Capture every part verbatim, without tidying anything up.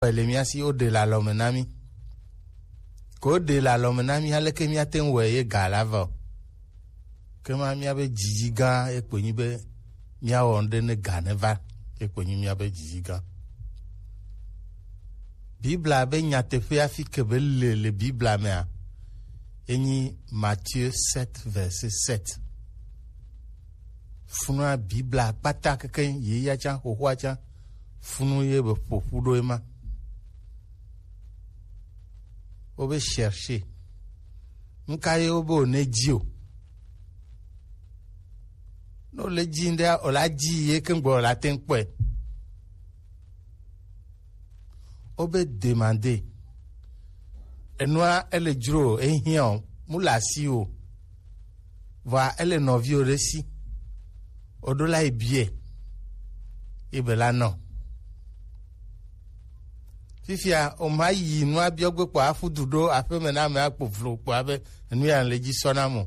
Ele mía si, woɖe le alɔme na mí. Ko woɖe le alɔme na mí, aleke míate ŋu wɔe ye ga la va o? Ke ma míabe didi gã ye kpoe nyi be míawɔ nu ɖe ne ga ne va, ye kpoe nyi míabe didi gã. Biblia be nyateƒe hafi ke be le le Biblia mea, enyi Matthieu sept, verset sept. Funua Biblia kpata keke ye ya tsã, xoxoa tsã, funu ye be ƒo ƒu ɖo ema. Wobe chercher. Nu ka ye wobe wòne dzi o? Ne wòle dzi ɖea, wòla dzi ye ke ŋgbe wòla te ŋu kpɔe. Wobe demander. Enua ele dzro o, ehiã o, mu le asi o. Vɔa ele nɔviwo ɖe si. Woɖo la yi biɛ. Yi be la nɔ. Fifia, o ma yi nua biɔ gbe kpɔ afu du ɖo aƒeme na ame akpo vlo kpɔ abe enu ya le dzi sɔ na mo.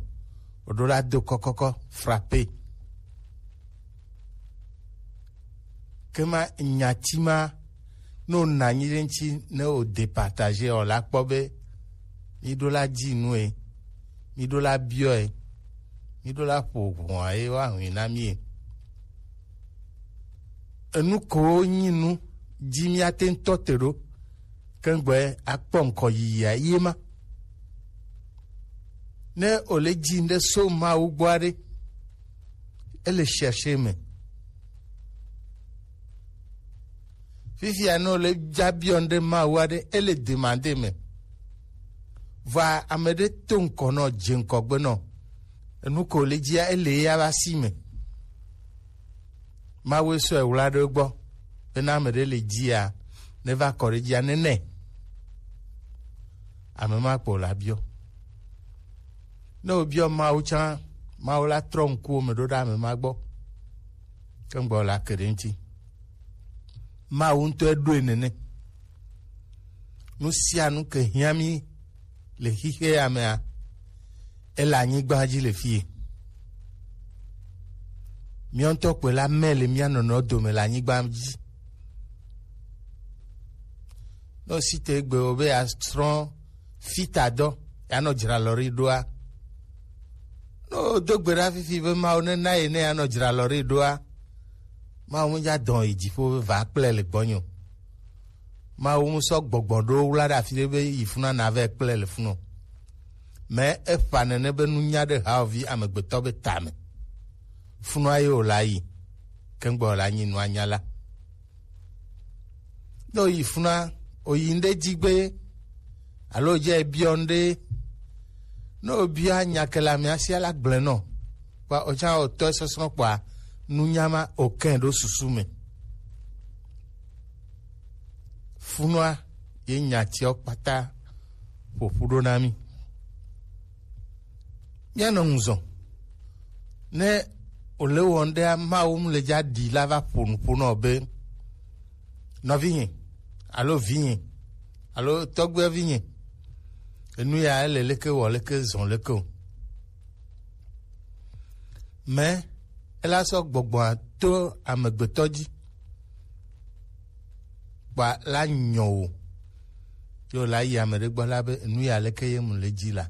Woɖo la do kɔkɔkɔ frappe. Ke ma nyati ma, ne wòna anyi ɖe ŋuti, ne wò départager o la kpɔ be míɖo la dzi nue, míɖo la biɔe, míɖo la ƒo ʋɔa ye woahui na mí e. Enu kowo nyi nu dzi míate ŋu tɔ te ɖo, ke ŋgbe akpɔ ŋkɔ yiyia ye ma. Ne wòle dzi ŋɖe so Mawu gbɔ aɖe, ele chercher me. Fifia ne wòle dza biɔ ŋɖe Mawu aɖe, ele demander me. Vɔa ame ɖe to ŋkɔ nɔ, dze ŋkɔgbe nɔ. Enu ko le dzia, ele ya va si me. Mawu sɔe wla ɖe gbɔ. Bena ame ɖe le dzia, ne va kɔ ɖe dzia, ne nɛ. Ame ma kpo la biɔ. Ne wòbiɔ Mawu tsã, Mawu la trɔ ŋkuwo me ɖo ɖe ame ma gbɔ. Ke ŋgbɔ la ke ɖe ŋuti. Mawu ŋutɔe ɖoe nene. Nu sia nu ke hiã mí le xixe ya mea, ele anyigba dzi le fie. Míawo ŋutɔ kpɔe la, mɛ le mía nɔnɔewo dome le anyigba dzi. Ne wosi te egbe wo be yeasrɔ̃ fitadɔ, yeanɔ dzralɔri ɖoa? Ne wodo gbe ɖa fifi be Mawu nena ye ne yeanɔ dzralɔri ɖoa, Mawu medza dɔn yi dziƒo be va kple le gbɔnye o. Mawu mu sɔ gbɔgbɔ ɖo wla ɖe afi ɖe be yi funa na vɛ kple le funu. Mɛ eƒa nene be nunya ɖe haovi amegbetɔ be tame. Funua ye wòla yi, ke ŋgbɔ wòla nyi nua nya la. Ne wòyi funa, wòyi ŋɖe dzi gbe, alo dze biɔ ŋɖe, ne wòbia nya ke le amea sia la gblẽ nɔ. Kpa wòtsã wòtɔe sɔsrɔ̃ kpɔa, nunya ma wòkẽ ɖo susu me. Funua ye nya tiawo kpata ƒo ƒu ɖo na mí. Míanɔ ŋuzɔ. Ne wòle wɔm ɖea, Mawu mu le dza ɖi la va ƒo nu ƒo nɔ be, nɔvinye, alo vinye, alo tɔgbuivinye, enu ya ele leke wɔ leke zɔ leke o. Mɛ ela sɔ gbɔgbɔa to amegbetɔ dzi. Kpa la nyɔ o. Yo la yi ame ɖe gbɔ la be, enu ya leke ye mu le dzi la.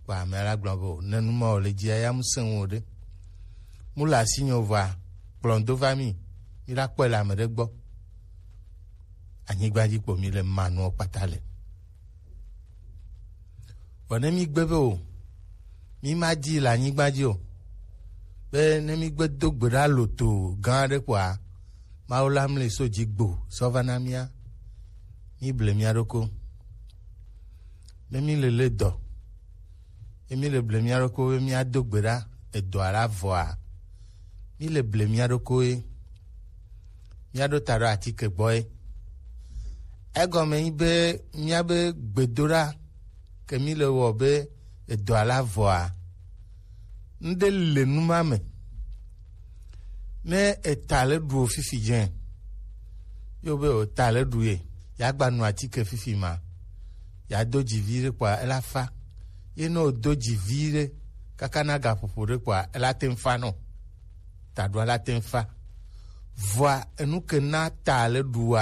Kpa ame la gblɔ be, o, ne nu ma wòle dzia, ya mu sẽ ŋu o ɖe. Mu le asi nyɔ vɔa, kplɔ do va mí, mí la kpɔe le ame ɖe gbɔ. Anyigba dzi kpo mí le manuɔ kpata le. Vɔ ne mí gbe be o, mí ma di le anyigba dzi o, be ne mí gbe do gbe ɖa loto gã aɖe kpɔa, Mawu la mli so dzi gbo sɔ va na mía, mí ble mía ɖoko. Ne mí le le dɔ, ye mí le ble mía ɖoko be mía do gbe ɖa edɔa la vɔa, mí le ble mía ɖokoe, mía ɖo ta ɖo atike gbɔe. Egɔme nyi be míabe gbedoɖa ke mí le wɔ be edɔa la vɔa, ŋɖe le nu ma me. Ne eta le ɖu o fifi dze, yo be o ta le ɖu ye, ya gba nu atike fifi ma, ya do dzi vi ɖe kpɔa, ela fa. Ye ne o do dzi vi ɖe kaka na gaƒoƒo ɖe kpɔa, ela te ŋu fa nɔ. Taɖoa la te ŋu fa. Vɔa enu ke na ta le ɖua?